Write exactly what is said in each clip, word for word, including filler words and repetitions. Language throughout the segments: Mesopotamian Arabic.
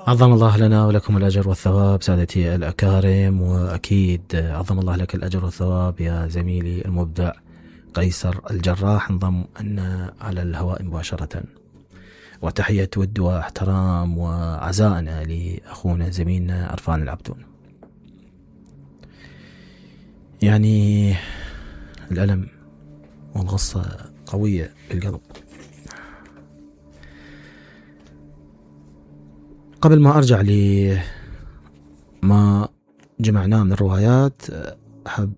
عظم الله لنا ولكم الأجر والثواب سادتي الأكارم، وأكيد عظم الله لك الأجر والثواب يا زميلي المبدع قيصر الجراح. انضم أن على الهواء مباشرة، وتحية ود واحترام وعزائنا لأخونا زميلنا عرفان العبدون. يعني الألم والغصة قوية بالقلب. قبل ما أرجع لما جمعناه من الروايات، أحب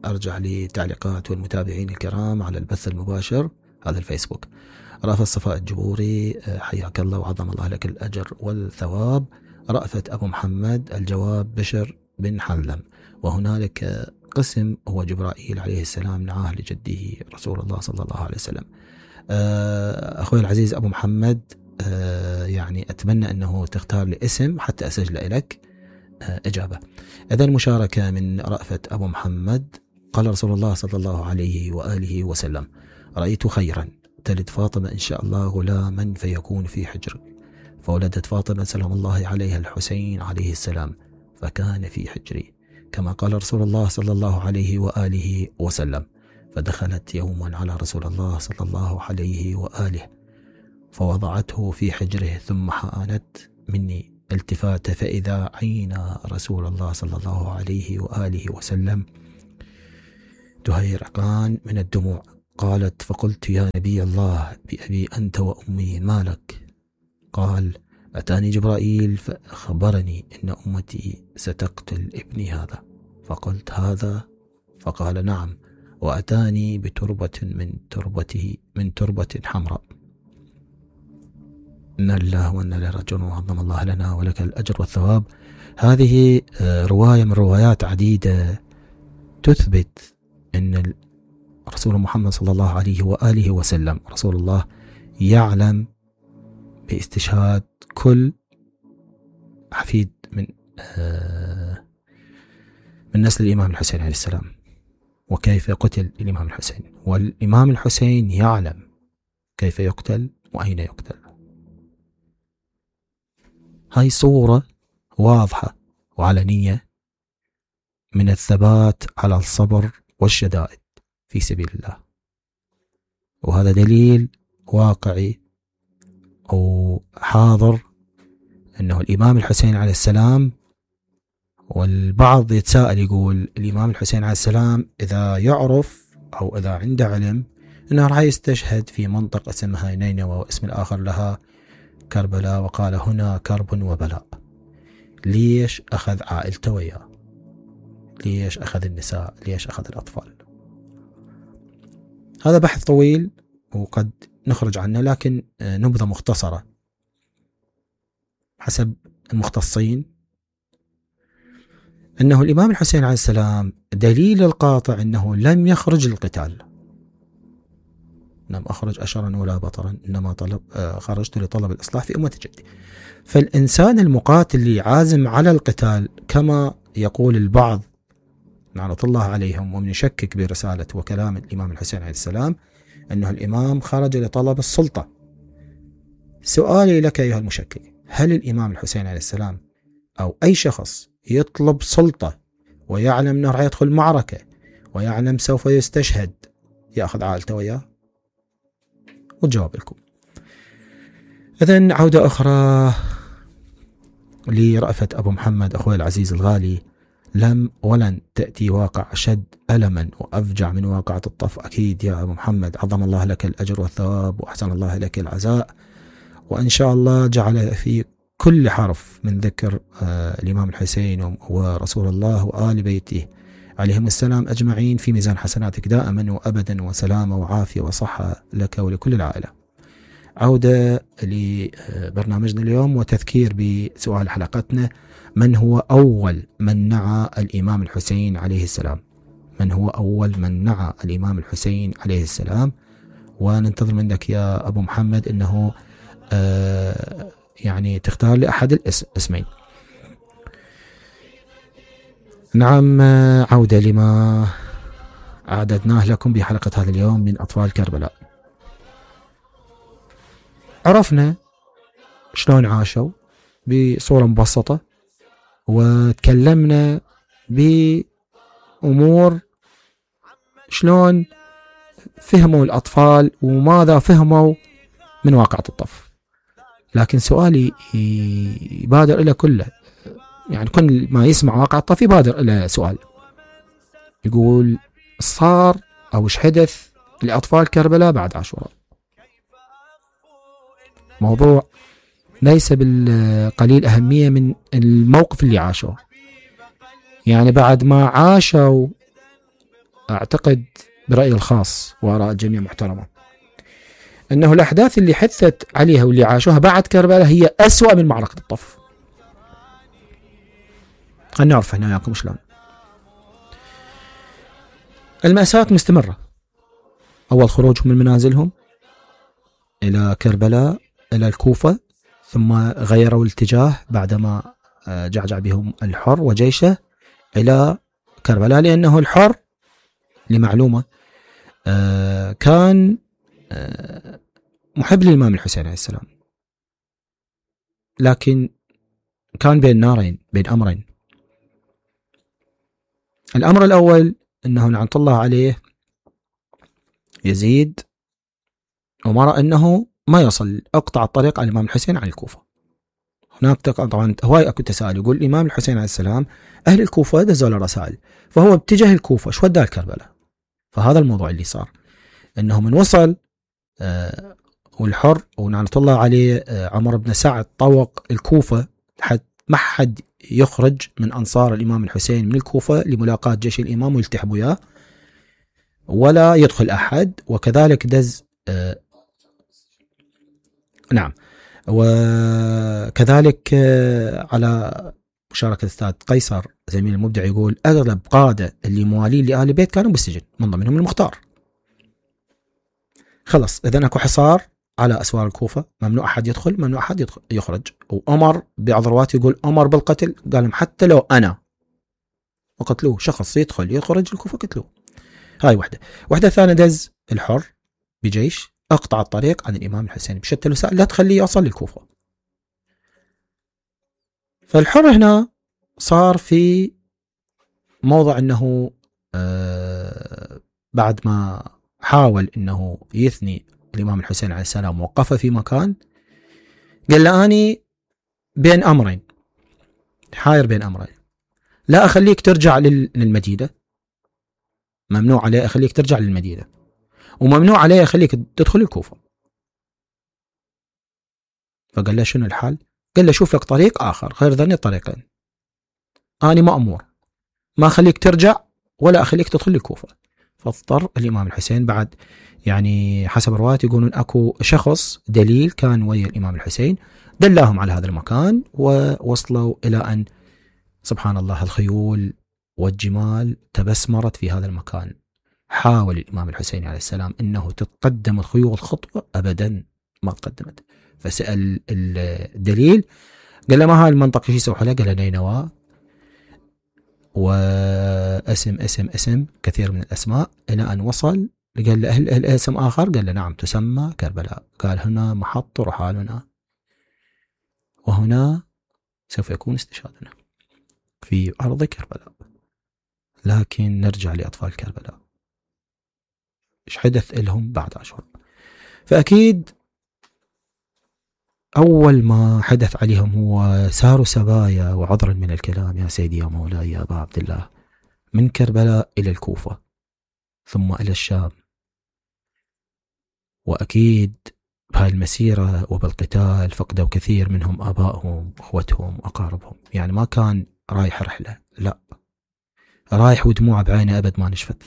أرجع لتعليقات والمتابعين الكرام على البث المباشر هذا الفيسبوك. رأفت صفاء الجبوري، حياك الله وعظم الله لك الأجر والثواب. رأفت أبو محمد، الجواب بشر بن حلم، وهنالك قسم هو جبرائيل عليه السلام نعاه لجده رسول الله صلى الله عليه وسلم. أخوي العزيز أبو محمد، يعني أتمنى أنه تختار لي اسم حتى أسجل لك إجابة. إذا المشاركة من رأفت أبو محمد: قال رسول الله صلى الله عليه وآله وسلم: رأيت خيرا، تلد فاطمة إن شاء الله غلاما فيكون في حجرك، فولدت فاطمة سلام الله عليها الحسين عليه السلام فكان في حجري، كما قال رسول الله صلى الله عليه وآله وسلم. فدخلت يوما على رسول الله صلى الله عليه وآله فوضعته في حجره، ثم حانت مني التفات فإذا عين رسول الله صلى الله عليه وآله وسلم تهيرقان من الدموع. قالت: فقلت: يا نبي الله، بأبي أنت وأمي، ما لك؟ قال: أتاني جبرائيل فأخبرني إن أمتي ستقتل ابني هذا. فقلت: هذا؟ فقال: نعم، وأتاني بتربة من تربته من تربة حمراء. إن الله وإنا إليه راجعون، وعظم الله لنا ولك الأجر والثواب. هذه رواية من روايات عديدة تثبت أن رسول محمد صلى الله عليه وآله وسلم رسول الله يعلم باستشهاد كل حفيد من من نسل الإمام الحسين عليه السلام، وكيف قتل الإمام الحسين، والإمام الحسين يعلم كيف يقتل وأين يقتل. هاي صورة واضحة وعلنية من الثبات على الصبر والشدائد في سبيل الله، وهذا دليل واقعي أو حاضر أنه الإمام الحسين عليه السلام. والبعض يتساءل يقول: الإمام الحسين عليه السلام إذا يعرف أو إذا عنده علم أنه راح يستشهد في منطقة اسمها نينوى واسم الآخر لها كربلاء، وقال: هنا كرب وبلاء، ليش أخذ عائلته وياه؟ ليش أخذ النساء؟ ليش أخذ الأطفال؟ هذا بحث طويل وقد نخرج عنه، لكن نبذة مختصرة حسب المختصين أنه الإمام الحسين عليه السلام دليل القاطع أنه لم يخرج للقتال، لم أخرج أشرا ولا بطرا، إنما طلب خرجت لطلب الإصلاح في أمة جدي. فالإنسان المقاتل اللي عازم على القتال، كما يقول البعض لعنة الله عليهم ومن يشكك برسالة وكلام الإمام الحسين عليه السلام أنه الإمام خرج لطلب السلطة. سؤالي لك أيها المشكك: هل الإمام الحسين عليه السلام أو أي شخص يطلب سلطة ويعلم أنه راح يدخل معركة ويعلم سوف يستشهد يأخذ عائلته وياه؟ والجواب لكم. إذن عودة أخرى لرأفت أبو محمد أخوي العزيز الغالي: لم ولن تأتي واقع أشد ألما وأفجع من واقعة الطف. أكيد يا أبو محمد، عظم الله لك الأجر والثواب وأحسن الله لك العزاء، وإن شاء الله جعل في كل حرف من ذكر آه الإمام الحسين ورسول الله وآل بيته عليهم السلام أجمعين في ميزان حسناتك دائما وأبدا، وسلامة وعافية وصحة لك ولكل العائلة. عودة لبرنامجنا اليوم وتذكير بسؤال حلقتنا: من هو أول من نعى الإمام الحسين عليه السلام؟ من هو أول من نعى الإمام الحسين عليه السلام؟ وننتظر منك يا أبو محمد أنه آه يعني تختار لي أحد الاسمين. نعم، عودة لما أعددناه لكم بحلقة هذا اليوم من أطفال كربلاء. عرفنا شلون عاشوا بصورة مبسطة، وتكلمنا بأمور شلون فهموا الأطفال وماذا فهموا من واقعة الطف. لكن سؤالي يبادر إلى كله، يعني كل ما يسمع واقعة الطف يبادر إلى سؤال، يقول صار أو ايش حدث لأطفال كربلاء بعد عاشوراء؟ موضوع ليس بالقليل أهمية من الموقف اللي عاشوه. يعني بعد ما عاشوا، أعتقد برأيي الخاص وآراء الجميع محترمة، أنه الأحداث اللي حدثت عليها واللي عاشوها بعد كربلاء هي أسوأ من معركة الطف. خلنا نعرف هنا ياكم شلون. المأساة مستمرة. أول خروجهم من منازلهم إلى كربلاء إلى الكوفة، ثم غيروا الاتجاه بعدما جعجع بهم الحر وجيشه إلى كربلاء، لأنه الحر لمعلومة كان محب للإمام الحسين عليه السلام، لكن كان بين نارين، بين أمرين. الأمر الأول أنه لعنة الله عليه يزيد وما رأى أنه ما يصل أقطع الطريق على الإمام الحسين عن الكوفة. هناك طبعا هواي أكو تساؤل، يقول الإمام الحسين عليه السلام أهل الكوفة دزوا له رسائل، فهو باتجاه الكوفة، شو وداه كربلاء؟ فهذا الموضوع اللي صار، أنه من وصل آه والحر ولعنة الله عليه آه عمر بن سعد طوق الكوفة حتى ما حد يخرج من أنصار الإمام الحسين من الكوفة لملاقاة جيش الإمام ويلتحم وياه، ولا يدخل أحد. وكذلك دز آه نعم وكذلك آه على مشاركة الأستاذ قيصر زميل المبدع، يقول أغلب قادة اللي موالين لآل البيت كانوا بالسجن، من ضمنهم المختار. خلص، إذن أكو حصار على أسوار الكوفة، ممنوع أحد يدخل، ممنوع أحد يدخل يخرج. وأمر بعض الروايات يقول أمر بالقتل، قال لهم حتى لو أنا، وقتلوه. شخص يدخل يخرج الكوفة قتلوه. هاي واحدة. واحدة ثانية، دز الحر بجيش أقطع الطريق عن الإمام الحسين بشتى الوسائل، لا تخليه يوصل للكوفة. فالحر هنا صار في موضع أنه آه بعد ما حاول أنه يثني الإمام الحسين عليه السلام وقفه في مكان، قال له أني بين أمرين، حاير بين أمرين، لا أخليك ترجع للمدينة، ممنوع عليه أخليك ترجع للمدينة، وممنوع عليه أخليك تدخل الكوفة. فقال له شنو الحال؟ قال له شوف لك طريق آخر غير ذني الطريقين، أنا مأمور ما أخليك ترجع ولا أخليك تدخل الكوفة. فاضطر الإمام الحسين بعد، يعني حسب الروايات يقولون أكو شخص دليل كان ويا الإمام الحسين دلاهم على هذا المكان، ووصلوا إلى أن سبحان الله الخيول والجمال تبسمرت في هذا المكان. حاول الإمام الحسين عليه السلام أنه تتقدم الخيول خطوة، أبدا ما تقدمت. فسأل الدليل، قال له ما هاي المنطقة شو يسوي حلها؟ قال له نينوى، واسم اسم اسم كثير من الأسماء، إلى أن وصل قال له أهل أهل اسم آخر، قال له نعم تسمى كربلاء. قال هنا محط رحالنا، وهنا سوف يكون استشهادنا في أرض كربلاء. لكن نرجع لأطفال كربلاء، إيش حدث لهم بعد عاشوراء؟ فأكيد أول ما حدث عليهم هو ساروا سبايا، وعذرا من الكلام يا سيدي يا مولاي يا أبا عبد الله، من كربلاء إلى الكوفة ثم إلى الشام. وأكيد بهاي المسيرة وبالقتال فقدوا كثير منهم آبائهم أخوتهم أقاربهم، يعني ما كان رايح رحلة، لا رايح ودموع بعينه أبد ما نشفت.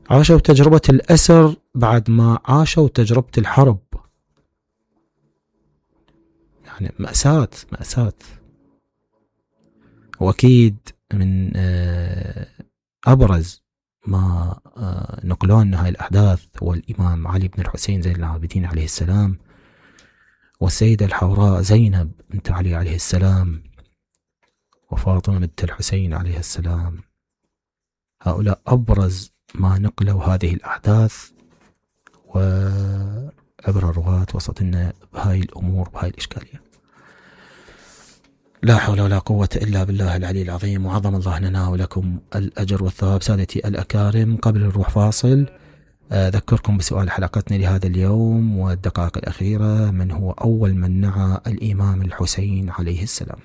عاشوا تجربة الأسر بعد ما عاشوا تجربة الحرب، يعني مأساة مأساة. وأكيد من أبرز ما نقلون هاي الأحداث هو الإمام علي بن الحسين زين العابدين عليه السلام، والسيدة الحوراء زينب بنت علي عليه السلام، وفاطمة بنت الحسين عليه السلام. هؤلاء أبرز ما نقلوا هذه الأحداث، وعبر الرواة وسط لنا بهاي الأمور بهاي الإشكالية. لا حول ولا قوة إلا بالله العلي العظيم، وعظم الله لنا ولكم الأجر والثواب. سادتي الأكارم، قبل الروح فاصل أذكركم بسؤال حلقتنا لهذا اليوم والدقائق الأخيرة: من هو أول من نعى الإمام الحسين عليه السلام؟